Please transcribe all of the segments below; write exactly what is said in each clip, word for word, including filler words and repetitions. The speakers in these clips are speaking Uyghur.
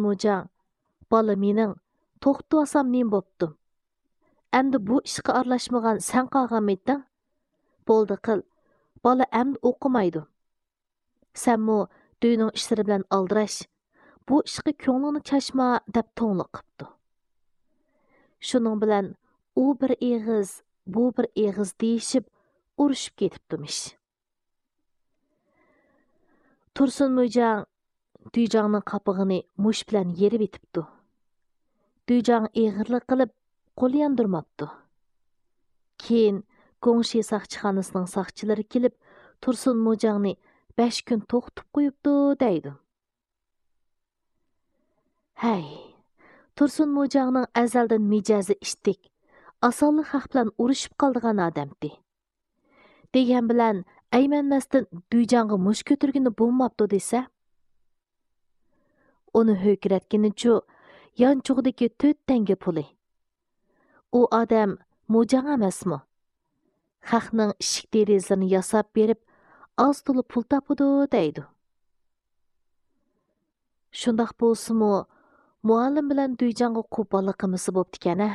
موجاڭ، بالا مېنىڭ، توختىۋالسام نېمە بوپتۇ؟ ئەمدى بۇ ئىشقا ئارىلاشمىغان سەن قالغانمىدىڭ؟ بولدى قىل، بالا ئەمدى ئوقۇمايدۇ. سەنمۇ دۆينىڭ ئىشلىرى بىلەن ئالدىراش، بۇ ئىشقا كۆڭلۈڭنى چاچما دەپ توڭلۇق قىپتۇ. شۇنىڭ بىلەن ئۇ بىر ئېغىز، بۇ بىر ئېغىز دېيىشىپ، ئۇرۇشۇپ كېتىپتىمىش. تۇرسۇن موجاڭ دۈيجاڭنىڭ قاپىقىنى مۇشت بىلەن يېرىۋېتىپتۇ. دۈيجاڭ ئېغىرلىق قىلىپ، قول ياندۇرماپتۇ. كېيىن گۇڭشى ساقچىخانىسىنىڭ ساقچىلىرى كېلىپ، تۇرسۇن موجاڭنى بەش كۈن توختىتىپ قويۇپتۇ دەيدۇ. ھەي، تۇرسۇن موجاڭنىڭ ئەزەلدىن مىجەزى ئىتتىك، ئاسانلا خەق بىلەن ئۇرۇشۇپ قالىدىغان ئادەمتى. دېگەن بىلەن ئەيمەنمەستىن دۈيجاڭغا مۇشت كۆتۈرگىنى بولماپتۇ دېسە. ئۇنى ھۆركىرەتكىنىچۇ، يانچۇقىدىكى تۆت تەڭگە پۇلى. ئۇ ئادەم موجاڭ ئەمەسمۇ؟ خەقنىڭ ئىشىك دېرىزىلىرىنى ياساپ بېرىپ، ئاز تولا پۇل تاپىدۇ دەيدۇ. شۇنداق بولسىمۇ، مۇئەللىم بىلەن دۈيجاڭغا قوپاللىق قىلمىسا بوپتىكەن ھە.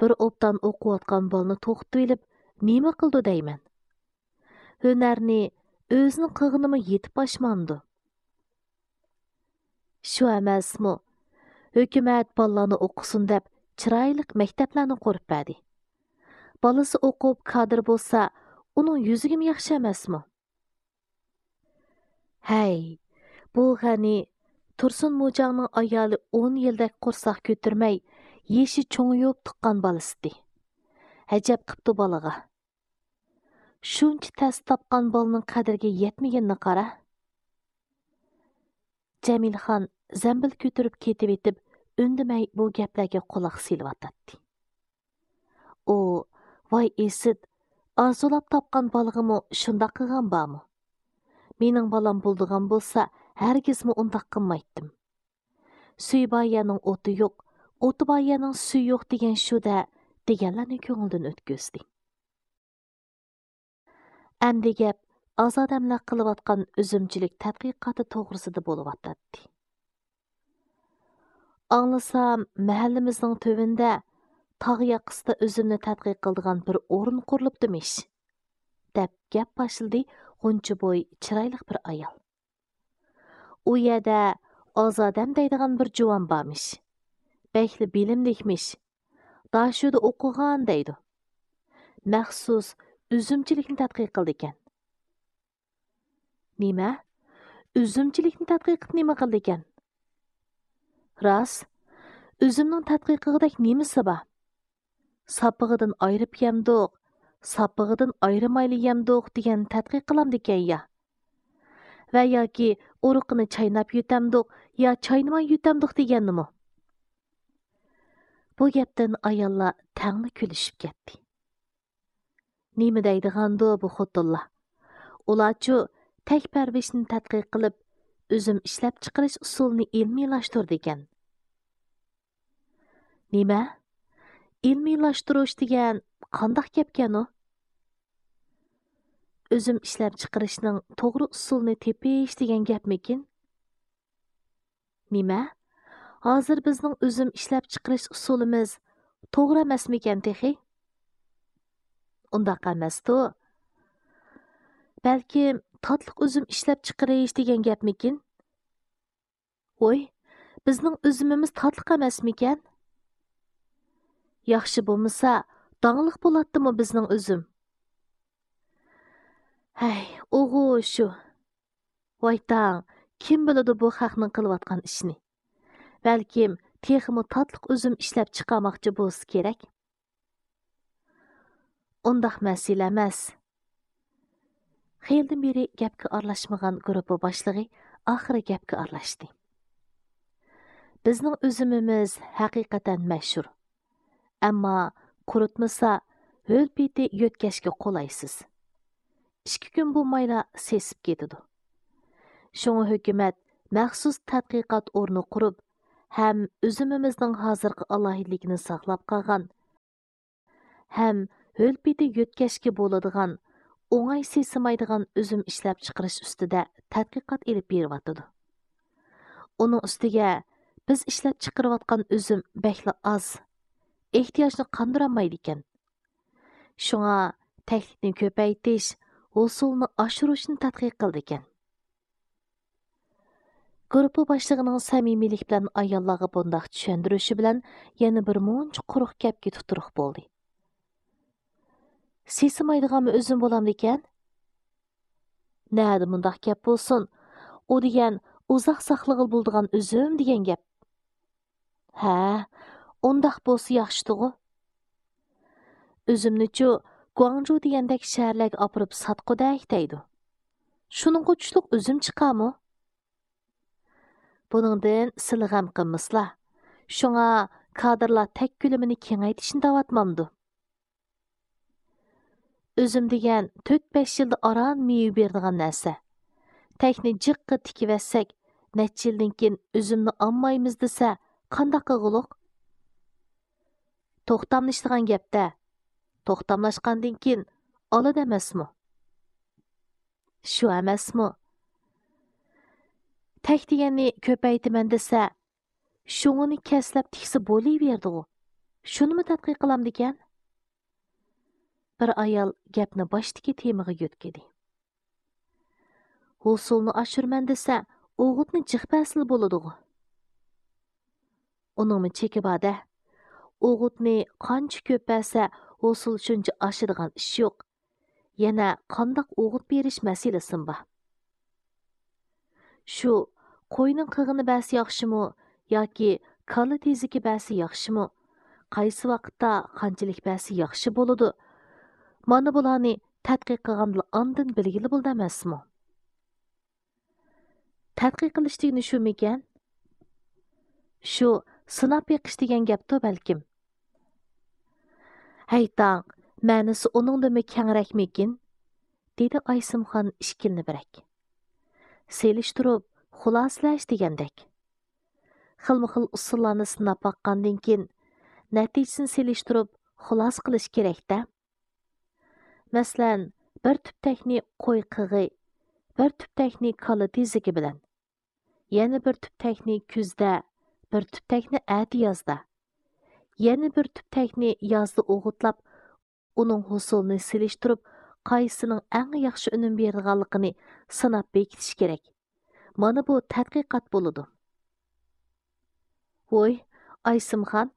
بىر ئوبدان ئوقۇۋاتقان بالىنى توختىتىۋېلىپ نېمە قىلىدۇ دەيمەن؟ ھۈنەرنى ئۆزىنىڭ قىلغىنىمۇ يېتىپ ئاشمامدۇ؟ شۇ ئەمەسمۇ؟ ھۆكۈمەت بالىلارنى ئوقۇسۇن دەپ چىرايلىق مەكتەپلەرنى قۇرۇپ بەردى. بالىسى ئوقۇپ كادىر بولسا، ئۇنىڭ يۈزىگىمۇ ياخشى ئەمەسمۇ؟ ھەي، بۇ غەنى تۇرسۇن موجاڭنىڭ ئايالى ئون يىلدەك قورساق كۆتۈرمەي، يېشى چوڭىيىپ تۇغقان بالىسىدى. ئەجەب قىپتۇ بالىغا. شۇنچە تەس تاپقان بالىنىڭ قەدرىگە يەتمىگىنىنى قارا. جەمىلخان زەمبىل كۆتۈرۈپ كېتىۋېتىپ، ئۈندىمەي بۇ گەپلەرگە قۇلاق سېلىۋاتاتتى. ئۇ، ۋاي ئىسىت، ئارزۇلاپ تاپقان بالىغىمۇ شۇنداق قىلغان بارمۇ؟ مېنىڭ بالام بولىدىغان بولسا، ھەرگىزمۇ ئۇنداق قىلمايتتىم. سۈيى بار يەرنىڭ ئوتى يوق، ئوتى بار يەرنىڭ سۈيى يوق دېگەن شۇ-دە، دېگەنلەرنى كۆڭلىدىن ئۆتكۈزدى. ئەمدى گەپ ئازادەملەر قىلىۋاتقان ئۈزۈمچىلىك تەتقىقاتى توغرىسىدا بولۇۋاتاتتى. ئاڭلىسام، مەھەللىمىزنىڭ تۆۋىنىدە تاغ ياقىسىدا ئۈزۈمنى تەتقىق قىلىدىغان بىر ئورۇن قۇرۇلۇپتىمىش، دەپ گەپ باشلىدى غۇنچە بوي چىرايلىق بىر ئايال. ئۇ يەردە ئازادەم دەيدىغان بىر جۇۋان بارمىش. بەكلا بىلىملىكمىش. داشۆدە ئوقۇغان دەيدۇ. مەخسۇس ئۈزۈمچىلىكنى تەتقىق قىلىدىكەن. نېمە؟ ئۈزۈمچىلىكنى تەتقىق قىلىپ نېمە قىلىدىكەن؟ راست، ئۈزۈمنىڭ تەتقىق قىلغۇدەك نېمىسى بار؟ ساپىقىدىن ئايرىپ يەمدۇق، ساپىقىدىن ئايرىمايلا يەمدۇق دېگەن تەتقىق قىلامدىكەن يا؟ ۋە ياكى ئۇرۇقىنى چايناپ يۇتامدۇق يا چاينىماي يۇتامدۇق دېگەننىمۇ؟ بۇ گەپتىن ئاياللار تەڭلا كۈلۈشۈپ كەتتى. نېمە دەيدىغاندۇ بۇ خوتۇنلار؟ ئۇلارچۇ تەك پەرۋىشنى تەتقىق قىلىپ، ئۈزۈم ئىشلەپچىقىرىش ئۇسۇلىنى ئىلمىيلاشتۇرىدىكەن. نېمە؟ ئىلمىيلاشتۇرۇش دېگەن قانداق گەپكەن ئۇ؟ ئۈزۈم ئىشلەپچىقىرىشنىڭ توغرا ئۇسۇلىنى تېپىش دېگەن گەپمىكىن؟ نېمە؟ ھازىر بىزنىڭ ئۈزۈم ئىشلەپچىقىرىش ئۇسۇلىمىز توغرا ئەمەسمىكەن تېخى؟ ئۇنداق ئەمەستۇ. بەلكىم تاتلىق ئۈزۈم ئىشلەپچىقىرىش دېگەن گەپمىكىن؟ ۋوي، بىزنىڭ ئۈزۈمىمىز تاتلىق ئەمەسمىكەن؟ ياخشى بولمىسا، داڭلىق بولاتتىمۇ بىزنىڭ ئۈزۈم؟ ھەي، ئوغۇ شۇ. ۋايتاڭ، كىم بىلىدۇ بۇ خەقنىڭ قىلىۋاتقان ئىشىنى؟ بەلكىم تېخىمۇ تاتلىق ئۈزۈم ئىشلەپ چىقارماقچى بولسا كېرەك. ئۇنداق مەسىلە ئەمەس. خېلىدىن بېرى گەپكە ئارىلاشمىغان گۇرۇپپا باشلىقى ئاخىرى گەپكە ئارىلاشتى. بىزنىڭ ئۈزۈمىمىز ھەقىقەتەن مەشھۇر. ئەمما قۇرۇتمىسا، ھۆل پېتى يۆتكەشكە قولايسىز. ئىككى كۈن بولمايلا سېسىپ كېتىدۇ. شۇڭا ھۆكۈمەت مەخسۇس تەتقىقات ئورنى قۇرۇپ، ھەم ئۈزۈمىمىزنىڭ ھازىرقى ئالاھىدىلىكىنى ساقلاپ قالغان، ھەم ھۆل پېتى يۆتكەشكە بولىدىغان، ئوڭاي سېسىمايدىغان ئۈزۈم ئىشلەپچىقىرىش ئۈستىدە تەتقىقات ئېلىپ بېرىۋاتىدۇ. ئۇنىڭ ئۈستىگە بىز ئىشلەپ چىقىرىۋاتقان ئۈزۈم بەكلا ئاز، ئېھتىياجنى قاندۇرالمايدىكەن. شۇڭا تەكلىپنى كۆپەيتىش، ھوسۇلنى ئاشۇرۇشنى تەتقىق قىلىدىكەن. گۇرۇپپا باشلىقىنىڭ سەمىمىيلىك بىلەن ئاياللارغا بۇنداق چۈشەندۈرۈشى بىلەن يەنە بىر مۇنچە قۇرۇق گەپكە تۇتۇرۇق بولدى. سېسىمايدىغانمۇ ئۈزۈم بولامدىكەن؟ نەدە مۇنداق گەپ بولسۇن؟ ئۇ دېگەن ئۇزاق ساقلىغىلى بولىدىغان ئۈزۈم دېگەن گەپ. ھە، ئۇنداق بولسا ياخشىدىغۇ. ئۈزۈمنىچۇ گۇاڭجۇ دېگەندەك شەھەرلەرگە ئاپىرىپ ساتقۇدەك دەيدۇ. شۇنىڭغا چۈشلۈك ئۈزۈم چىقارمۇ؟ بۇنىڭدىن سىلى غەم قىلمىسىلا. شۇڭا كادىرلار تەك كۆلىمىنى كېڭەيتىشنى دەۋاتمامدۇ؟ ئۈزۈم دېگەن تۆت-بەش يىلدا ئاران مېۋە بېرىدىغان نەرسە. تەكنى جىققا تىكىۋەتسەك، نەچچە يىلدىن كېيىن ئۈزۈمنى ئالمايمىز دېسە، قانداق قىلغۇلۇق؟ توختاملىشىدىغان گەپتە. توختاملاشقاندىن كېيىن ئالىدۇ ئەمەسمۇ؟ شۇ ئەمەسمۇ؟ تەك دېگەننى كۆپەيتىمەن دېسە، شۇڭىنى كەسلەپ تىكسە بولۇۋېرىدىغۇ. شۇنىمۇ تەتقىق قىلامدىكەن؟ بىر ئايال گەپنى باشتىكى تېمىغا يۆتكىدى. ھوسۇلنى ئاشۇرىمەن دېسە، ئوغۇتنى جىق بەرسىلا بولىدىغۇ. ئۇنىڭمۇ چېكى بار-دە. ئوغۇتنى قانچە كۆپ بەرسە، ھوسۇل شۇنچە ئاشىدىغان ئىش يوق. يەنە قانداق ئوغۇت بېرىش مەسىلىسىمۇ بار. شۇ قوينىڭ قىغىنى بەرسە ياخشىمۇ ياكى كالا تېزىكى بەرسە ياخشىمۇ؟ قايسى ۋاقىتتا قانچىلىك بەرسە ياخشى بولىدۇ؟ مانا بۇلارنى تەتقىق قىلغاندىلا ئاندىن بىلگىلى بولىدۇ ئەمەسمۇ؟ تەتقىق قىلىش دېگىنى شۇمىكەن؟ شۇ سىناپ بېقىش دېگەن گەپتۇ بەلكىم. ھەيتاڭ، مەنىسى ئۇنىڭدىنمۇ كەڭرەكمىكىن؟ دېدى ئايسىمخان ئىككىلىنىۋرەك. سېلىشتۇرۇپ خۇلاسىلەش دېگەندەك. خىلمۇ خىل ئۇسۇللارنى سىناپ باققاندىن كېيىن، نەتىجىسىنى سېلىشتۇرۇپ خۇلاسە قىلىش كېرەك-دە. مەسىلەن، بىر تۈپ تەكنى قوي قىغى، بىر تۈپ تەكنى كالا تېزىكى بىلەن، يەنە بىر تۈپ تەكنى كۈزدە، بىر تۈپ تەكنى ئەتە يازدا، يەنە بىر تۈپ تەكنى يازدا ئوغۇتلاپ، ئۇنىڭ ھوسۇلىنى سېلىشتۇرۇپ، قايسىنىڭ ئەڭ ياخشى ئۈنۈم بېرىدىغانلىقىنى سىناپ بېكىتىش كېرەك. مانا بۇ تەتقىقات بولىدۇ. ۋوي، ئايسىمخان،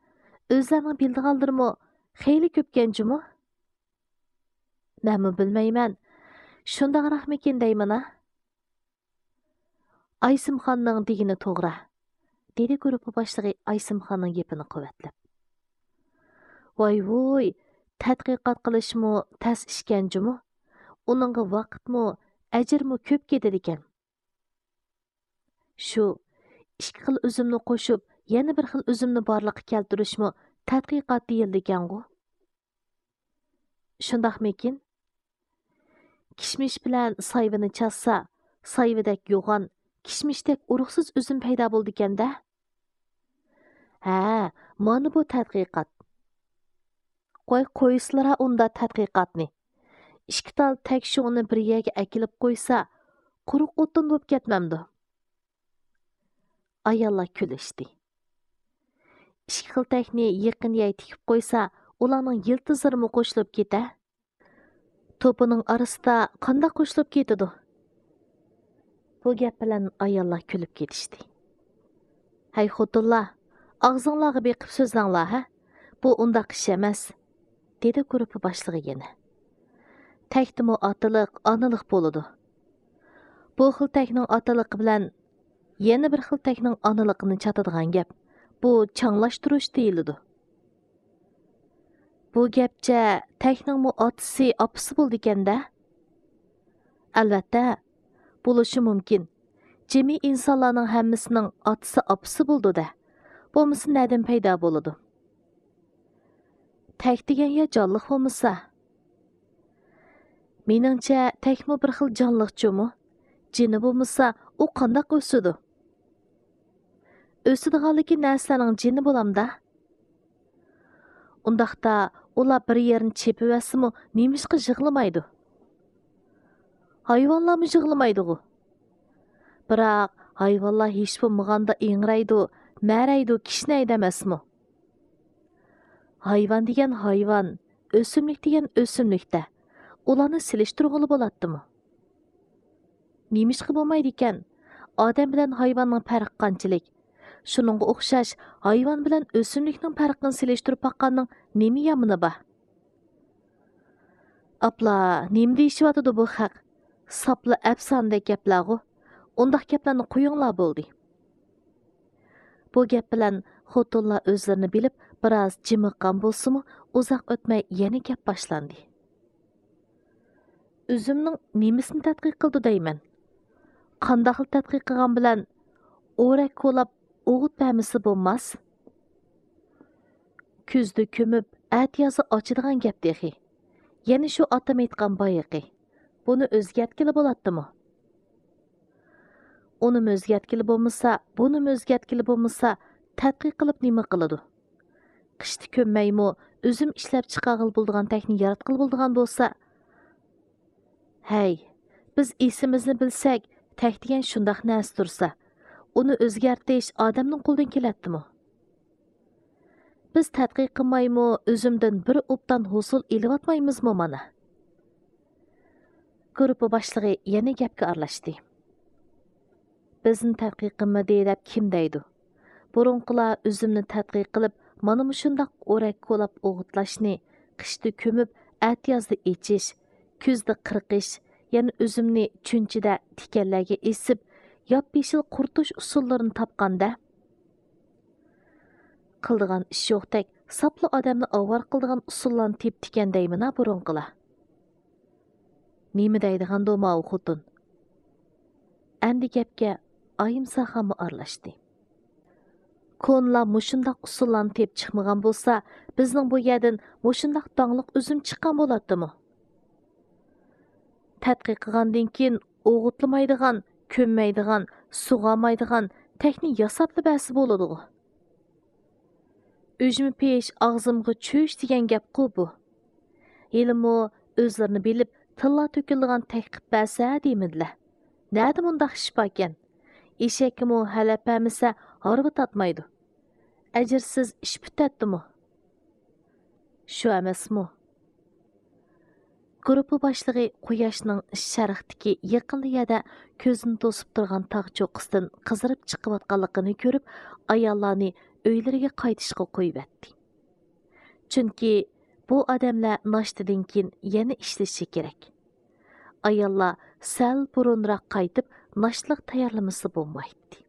ئۆزلەرنىڭ بىلىدىغانلىرىمۇ خېلى كۆپكەن جۇمۇ؟ مەنمۇ بىلمەيمەن. شۇنداقراقمىكىن دەيمەن-ھە. ئايسىمخاننىڭ دېگىنى توغرا، دېدى گۇرۇپپا باشلىقى ئايسىمخاننىڭ گېپىنى قۇۋۋەتلەپ. ۋاي ۋۇي، تەتقىقات قىلىشمۇ تەس ئىشكەن جۇمۇ. ئۇنىڭغا ۋاقىتمۇ، ئەجىرمۇ كۆپ كېتىدىكەن. شۇ ئىككى خىل ئۈزۈمنى قوشۇپ، يەنە بىر خىل ئۈزۈمنى بارلىققا كەلتۈرۈشمۇ تەتقىقات دېيىلىدىكەنغۇ. شۇنداقمىكىن؟ كىشمىش بىلەن سايۋىنى چاتسا، سايۋىدەك يوغان، كىشمىشتەك ئۇرۇقسىز ئۈزۈم پەيدا بولىدىكەن-دە. ھە، مانا بۇ تەتقىقات. قوي، قويسىلىرا ئۇندا تەتقىقاتنى. ئىككى تال تەك شۇڭىنى بىر يەرگە ئەكېلىپ قويسا، قۇرۇق ئوتتۇن بولۇپ كەتمەمدۇ؟ ئاياللار كۈلۈشتى. ئىككى خىل تەكنى يېقىن يەر تىكىپ قويسا، ئۇلارنىڭ يىلتىزلىرىمۇ قوشۇلۇپ كېتە. توپىنىڭ ئارىسىدا قانداق قوشۇلۇپ كېتىدۇ؟ بۇ گەپ بىلەن ئاياللار كۈلۈپ كېتىشتى. ھەي خوتۇنلار، ئاغزىڭلارغا بېقىپ سۆزلەڭلار ھە، بۇ ئۇنداق ئىش ئەمەس، دېدى گۇرۇپپا باشلىقى يەنە. تەكتىمۇ ئاتىلىق، ئانىلىق بولىدۇ. بۇ خىل تەكنىڭ ئاتىلىقى بىلەن يەنە بىر خىل تەكنىڭ ئانىلىقىنى چاتىدىغان گەپ، بۇ چاڭلاشتۇرۇش دېيىلىدۇ. بۇ گەپچە تەكنىڭمۇ ئاتىسى، ئاپىسى بولىدىكەن-دە؟ ئەلۋەتتە، بولۇشى مۇمكىن. جىمى ئىنسانلارنىڭ ھەممىسىنىڭ ئاتىسى، ئاپىسى بولىدۇ-دە. بولمىسا نەدىن پەيدا بولىدۇ؟ تەك دېگەن يا جانلىق بولمىسا؟ مېنىڭچە، تەكمۇ بىر خىل جانلىق جۇمۇ. جېنى بولمىسا، ئۇ قانداق ئۆسىدۇ؟ ئۆسىدىغانلىكى نەرسىلەرنىڭ جېنى بولامدا؟ ئۇنداقتا ئۇلار بىر يەرنى چېپىۋەتسىمۇ نېمىشقا يىغلىمايدۇ؟ ھايۋانلارمۇ يىغلىمايدىغۇ؟ بىراق ھايۋانلار ھېچ بولمىغاندا ئىڭرايدۇ، مەرەيدۇ، كىشنەيدۇ ئەمەسمۇ؟ ھايۋان دېگەن ھايۋان، ئۆسۈملۈك دېگەن ئۆسۈملۈكتە، ئۇلارنى سېلىشتۇرغىلى بولاتتىمۇ؟ نېمىشقا بولمايدىكەن؟ ئادەم بىلەن ھايۋاننىڭ پەرقى قانچىلىك؟ شۇنىڭغا ئوخشاش، ھايۋان بىلەن ئۆسۈملۈكنىڭ پەرقىنى سېلىشتۇرۇپ باققاننىڭ نېمە يامىنى بار؟ ئاپلا، نېمە دېيىشىۋاتىدۇ بۇ خەق؟ ساپلا ئەپسانىدەك گەپلەرغۇ. ئۇنداق گەپلەرنى قويۇڭلار بولدى. بۇ گەپ بىلەن خوتۇنلار ئۆزلىرىنى بىلىپ، بىراز جىمىققان بولسىمۇ، ئۇزاق ئۆتمەي يەنە گەپ باشلاندى. ئۈزۈمنىڭ نېمىسىنى تەتقىق قىلىدۇ دەيمەن؟ قانداقلا تەتقىق قىلغان بىلەن ئورەك كولاپ ئوغۇت بەرمىسە بولماس؟ كۈزدە كۆمۈپ، ئەتىيازدا ئاچىدىغان گەپ تېخى. يەنە شۇ ئاتام ئېيتقان بايىقى. بۇنى ئۆزگەرتكىلى بولاتتىمۇ؟ ئۇنىمۇ ئۆزگەرتكىلى بولمىسا، بۇنىمۇ ئۆزگەرتكىلى بولمىسا، تەتقىق قىلىپ نېمە قىلىدۇ؟ قىشتا كۆممەيمۇ، ئۈزۈم ئىشلەپ چىقارغىلى بولىدىغان تەكنىك ياراتقىلى بولىدىغان بولسا. ھەي، بىز ئېسىمىزنى بىلسەك، تەك دېگەن شۇنداق نەرسە تۇرسا، ئۇنى ئۆزگەرتىش ئادەمنىڭ قولىدىن كېلەتتىمۇ؟ بىز تەتقىق قىلمايمۇ، ئۈزۈمدىن بىر ئوبدان ھوسۇل ئېلىۋاتمايمىزمۇ مانا؟ گۇرۇپپا باشلىقى يەنە گەپكە ئارىلاشتى. بىزنى تەتقىق قىلمىدى دەپ كىم دەيدۇ؟ بۇرۇنقىلار ئۈزۈمنى تەتقىق قىلىپ، مانا مۇشۇنداق ئورەك كولاپ ئوغۇتلاشنى، قىشتا كۆمۈپ، ئەتىيازدا ئېچىش، كۈزدە قىرقىش، يەنە ئۈزۈمنى چۈنچىدە تىكەنلەرگە ئېسىپ، ياپيېشىل قۇرۇتۇش ئۇسۇللىرىنى تاپقان-دە. قىلىدىغان ئىش يوقتەك، ساپلا ئادەمنى ئاۋارە قىلىدىغان ئۇسۇللارنى تېپىپتىكەن دەيمىنا بۇرۇنقىلار. نېمە دەيدىغاندۇ ماۋۇ خوتۇن؟ ئەمدى گەپكە ئايىمساخانمۇ ئارىلاشتى. كونىلار مۇشۇنداق ئۇسۇللارنى تېپىپ چىقمىغان بولسا، بىزنىڭ بۇ يەردىن مۇشۇنداق داڭلىق ئۈزۈم چىققان بولاتتىمۇ؟ تەتقىق قىلغاندىن كېيىن ئوغۇتلىمايدىغان، كۆممەيدىغان، سۇغارمايدىغان تەكنىك ياساپلا بەرسە بولىدىغۇ. ئۈجمە پىش، ئاغزىمغا چۈش دېگەن گەپقۇ بۇ. ھېلىمۇ ئۆزلىرىنى بىلىپ، تىللار تۆكۈلىدىغان تەكلىپ بەرسە دېمىدىلە. نەدە مۇنداق ئىش باركەن؟ ئېشەككىمۇ ھەلەپ بەرمىسە، ھارۋا تارتمايدۇ. ئەجىرسىز ئىش پۈتەتتىمۇ؟ شۇ ئەمەسمۇ؟ گۇرۇپپا باشلىقى قۇياشنىڭ شەرقتىكى يېقىنلا يەردە كۆزىنى توسۇپ تۇرغان تاغ چوققىسىدىن قىزىرىپ چىقىۋاتقانلىقىنى كۆرۈپ، ئاياللارنى ئۆيلىرىگە قايتىشقا قويۇۋەتتى. چۈنكى بۇ ئادەملەر ناشتىدىن كېيىن يەنە ئىشلىشى كېرەك. ئاياللار سەل بۇرۇنراق قايتىپ، ناشتىلىق تەييارلىمىسا بولمايتتى.